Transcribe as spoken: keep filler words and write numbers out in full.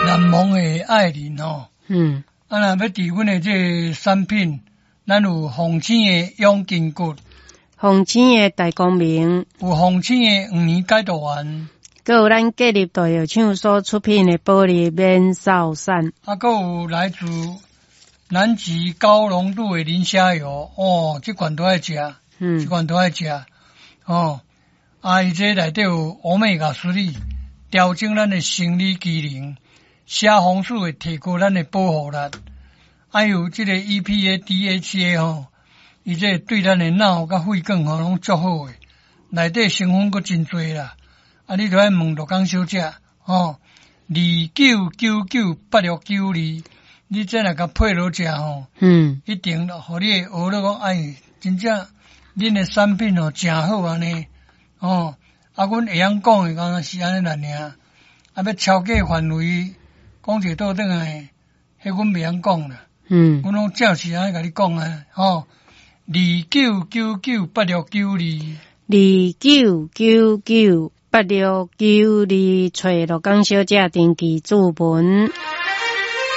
難忘的愛人吼。嗯。啊，若欲佇阮的這个產品，咱有鳳青的養筋骨，鳳青的大光明，有鳳青的黃連解毒丸，閣有咱建立大藥廠所出品的保利免瘦散，啊，閣有來自南極高濃度的磷蝦油，哦，這款都愛食，嗯，這款都愛食，哦，啊，伊這內底有 Omega three，調整咱的生理機能，蝦紅素會提高咱的保護力，還有這個 E P A、D H A 吼，伊這對咱的腦佮血管吼攏足好的，內底成分閣真濟啦。啊，你著愛問陸江小姐吼，二九九九八六九二，你這若共配落食吼，嗯，一定予你會學咧講，哎，真正恁的產品吼誠好按呢，吼，啊，阮會曉講的敢若是按呢爾，啊，欲超過範圍，講一個倒轉來，彼阮袂曉講啦，嗯，阮攏照實按呢共你講啊，吼，二九九九八六九二，二九九九八六九二，揣陸江小姐登記注文。